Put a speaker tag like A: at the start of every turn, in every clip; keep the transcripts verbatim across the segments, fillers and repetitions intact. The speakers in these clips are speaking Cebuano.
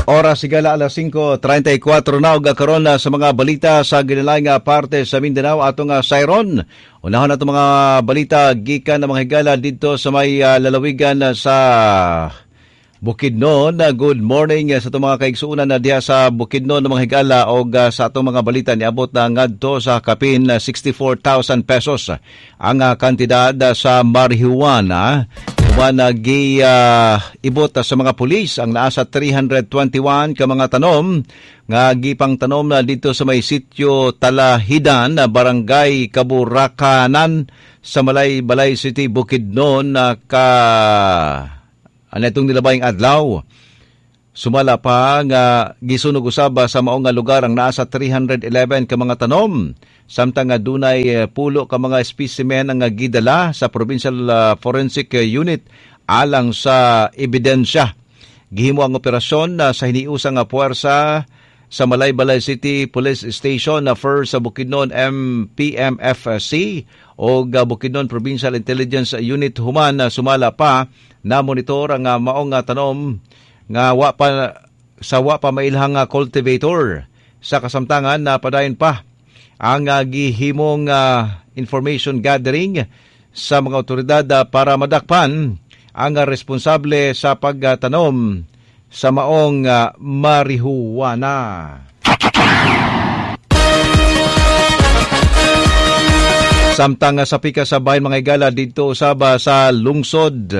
A: Oras higala alas singko trentay kwatro na ug karon na sa mga balita sa ginilaing nga parte sa Mindanao, atong uh, sayron. Unahon ato mga balita gikan ng mga higala didto sa may uh, lalawigan sa Bukidnon. Good morning sa atong mga kaigsuonan na diha sa Bukidnon ng mga higala og uh, sa atong mga balita, niabot na ngadto sa kapin sixty-four thousand pesos ang uh, kantidad sa marijuana uban gi uh, ibot sa mga pulis ang naa sa three hundred twenty-one ka mga tanom nga gipang tanom na dito sa may sitio Talahidan, Barangay Kaburakanan sa Malaybalay City, Bukidnon na ka ano itong nilabayng adlaw. Sumala pa nga gisunog usab sa maong nga lugar ang naa sa three hundred eleven ka mga tanom. Samtang nga dunay eh, pulo ka mga specimen ang gidala sa Provincial ah, Forensic Unit alang sa ebidensya. Gihimo ang operasyon na sa hiniusang nga puwersa sa Malaybalay City Police Station na First sa Bukidnon M P M F C o Bukidnon Provincial Intelligence Unit, human na sumala pa na monitor ang ah, maong nga tanom nga wa pa sa wa pa mailhang nga cultivator. Sa kasamtangan na padayon pa ang uh, gihimong uh, information gathering sa mga otoridad uh, para madakpan ang uh, responsable sa pagtanom sa maong uh, marihuana. Samtang sa pika sa bahin, mga higala, dito usaba sa lungsod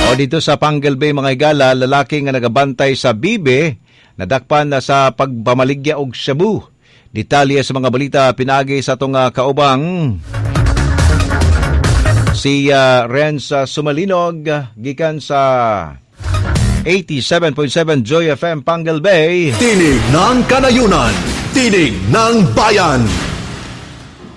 A: o dito sa Panguil Bay, mga higala, lalaki nga nagabantay sa bibe nadakpan na sa pagpamaligya og shabu. Detalye sa mga balita pinagi sa atong uh, kaubang si uh, Renz uh, Sumalinog gikan sa eighty-seven point seven Joy F M Panguil Bay.
B: Tinig ng Kanayunan, Tinig ng Bayan.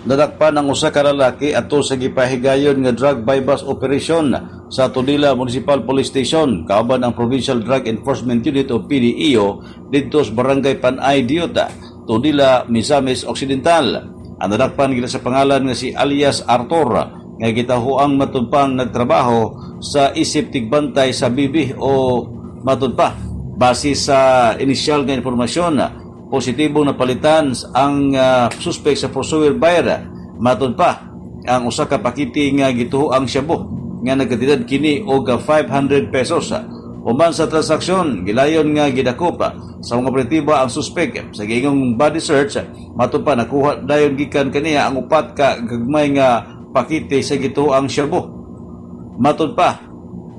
C: Nadakpan ang usa ka lalaki adto sa gipahigayon nga drug buy-bust operation sa Tudela Municipal Police Station kauban ang Provincial Drug Enforcement Unit o P D E O didto sa Barangay Panay Diota, Tudela, Misamis Occidental. Ang nadakpan gila sa pangalan nga si alias Arthur nga gitahuang matud pang nagtrabaho sa isip tigbantay sa bibi o matud pa. Base sa inisyal nga impormasyon, positibong napalitan ang uh, suspect sa pursuer buyer. Matud pa ang usa ka pakiti nga gituho ang shabu nga nagkatidad kini og five hundred pesos. Human sa transaksyon, gilayon nga gidakop sa mga operatiba ang suspect. Sa giingong body search, matud pa nakuha dayon gikan kaniya ang upat ka gagmay nga pakite sa gituho ang shabu. Matud pa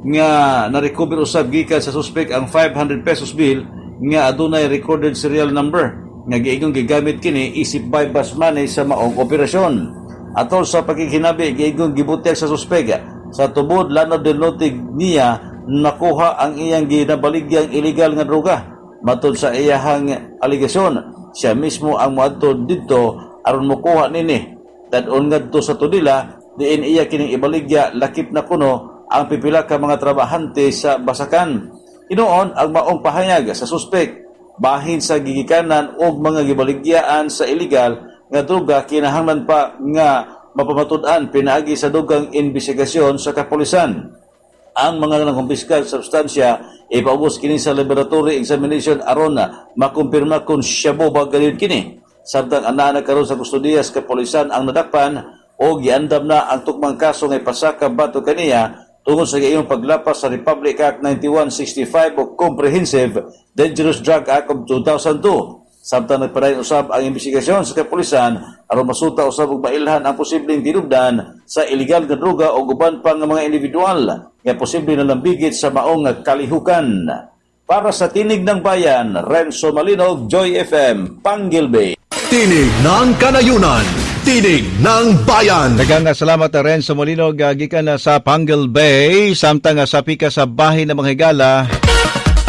C: nga na-recover usab gikan sa suspect ang five hundred pesos bill nga adunay recorded serial number nga giingong gigamit kini isip buy-bust money sa maong operasyon. Atol sa pagkikinabi, giingong gibutyag sa suspect sa tubod Lanao del Norte niya nakuha ang iyang ginabaligyang illegal nga droga. Matod sa iyahang aligasyon, siya mismo ang moadto didto aron mokuha nini. Dad-on ngadto sa Tudela, diin iya kining ibaligya lakip na kuno ang pipila ka mga trabahante sa basakan. Hinuon ang maong pahayag sa suspek bahin sa gigikanan og mga gibaligyaan sa illegal nga droga kinahanglan pa nga mapamatud-an pinaagi sa dugang investigasyon sa kapulisan. Ang mga nangkumpiskar sa substansya ipaubos kini sa laboratory examination aron na makumpirma kung shabu ba gayud kini. Samtang anaa na karon sa kustodiya sa kapulisan ang nadakpan o giandam na ang tukmang kaso nga ipasaka batok kaniya tungod sa iyong paglapas sa Republic Act ninety-one sixty-five o Comprehensive Dangerous Drug Act of two thousand two. Samtang nagpadayon usab ang investigasyon sa kapulisan aron masuta usab ug mailhan ang posibleng tinubdan sa illegal nga droga o uban pa nga mga individual nga posible na lambigit sa maong kalihukan. Para sa Tinig ng Bayan, Renzo Malinog, Joy F M, Panguil Bay.
B: Tinig ng Kanayunan, Tinig ng Bayan.
A: Daghang salamat, Renzo Molinog, gikan na sa Panguil Bay, samtang sa pika sa bahin ng mga higala.